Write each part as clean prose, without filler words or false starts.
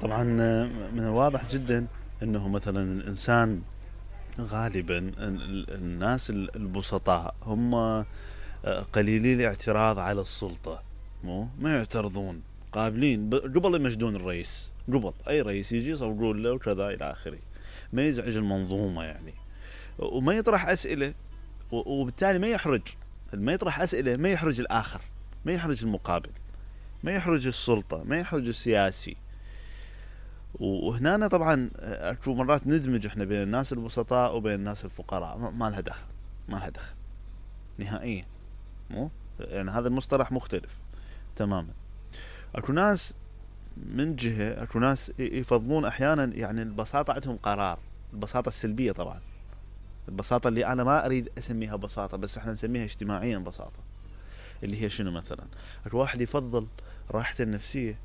طبعا من الواضح جدا انه مثلا الانسان غالبا الناس البسطاء هم قليلي الاعتراض على السلطة، ما يعترضون، قابلين قبل يمجدون الرئيس، قبل اي رئيس يجي يصورون له وكذا الى اخره، ما يزعج المنظومة يعني، وما يطرح اسئلة، وبالتالي ما يطرح اسئلة ما يحرج الاخر، ما يحرج المقابل، ما يحرج السلطة، ما يحرج السياسي. وهنا طبعا اكو مرات ندمج احنا بين الناس البسطاء وبين الناس الفقراء، ما لها دخل، ما لها دخل نهائيا، يعني هذا المصطلح مختلف تماما. اكو ناس من جهة، اكو ناس يفضلون احيانا يعني البساطة عندهم قرار، البساطة السلبية طبعا، البساطة اللي انا ما اريد اسميها بساطة بس احنا نسميها اجتماعيا بساطة، اللي هي شنو مثلا؟ اكو واحد يفضل راحته النفسية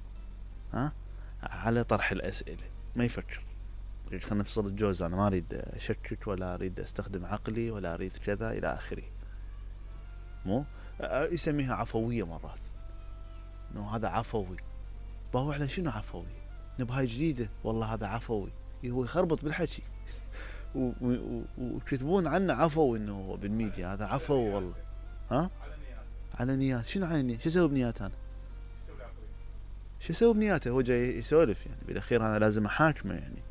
على طرح الاسئلة، ما يفكر، خلينا نفصل الجوز، انا ما اريد اشكك ولا اريد استخدم عقلي ولا اريد كذا الى اخره، يسميها عفوية مرات، انه هذا عفوي، باهو على شنو عفوي؟ نبهاي جديدة والله هذا عفوي، هو يخربط بالحكي ويكتبون عنه عفوي، انه هو بالميديا هذا عفو والله، على نيات، شنو على نيات؟ شو اسوي بنيات انا؟ شو اسوي بنياته؟ هو جاي يسولف يعني، بالاخير انا لازم احاكمه يعني،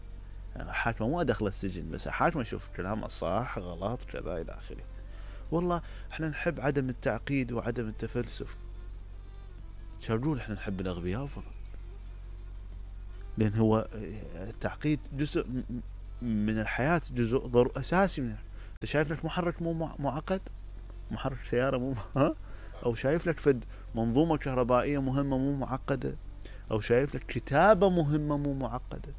احاكمه مو ادخله السجن بس احاكمه اشوف كلامه صح غلط كذا الى اخره. والله احنا نحب عدم التعقيد وعدم التفلسف، شو احنا نحب الاغبياء فقط، لان هو التعقيد جزء من الحياة، جزء اساسي من انت شايف لك محرك مو معقد، محرك سيارة مو او شايف لك فد منظومة كهربائية مهمة مو معقدة، او شايف لك كتابة مهمة مو معقدة،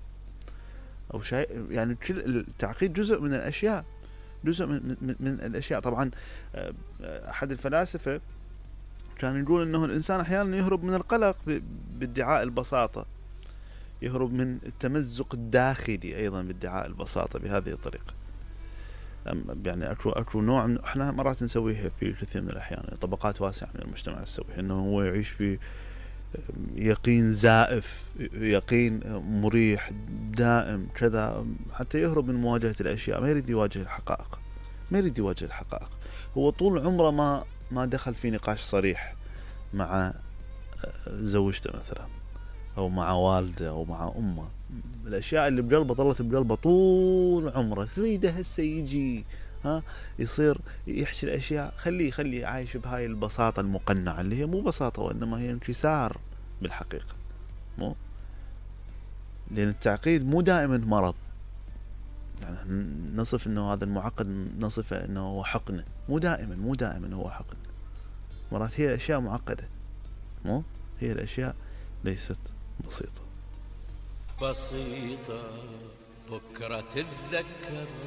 او شايف يعني كل التعقيد جزء من الاشياء، جزء من الاشياء. طبعا احد الفلاسفة كان يقول انه الانسان احيانا يهرب من القلق بادعاء البساطة، يهرب من التمزق الداخلي ايضا بادعاء البساطة بهذه الطريقة. يعني اكو نوع احنا مرات نسويها في كثير من الاحيان، طبقات واسعة من المجتمع تسويها، انه هو يعيش في يقين زائف، يقين مريح دائم كذا، حتى يهرب من مواجهة الاشياء، ما يريد يواجه الحقائق، ما يريد يواجه الحقائق. هو طول عمره ما دخل في نقاش صريح مع زوجته مثلا، او مع والده او مع امه، الاشياء اللي بقلبه ظلت بقلبه طول عمره، تريده هسه يجي يصير يحكي الاشياء، خليه عايش بهاي البساطة المقنعة اللي هي مو بساطة وانما هي انكسار بالحقيقة، لان التعقيد مو دائما مرض، يعني نصف انه هذا المعقد نصفه انه هو حقنة، مو دائما هو حقن، مرات هي الاشياء معقدة، هي الاشياء ليست بسيطة. بكرة تتذكر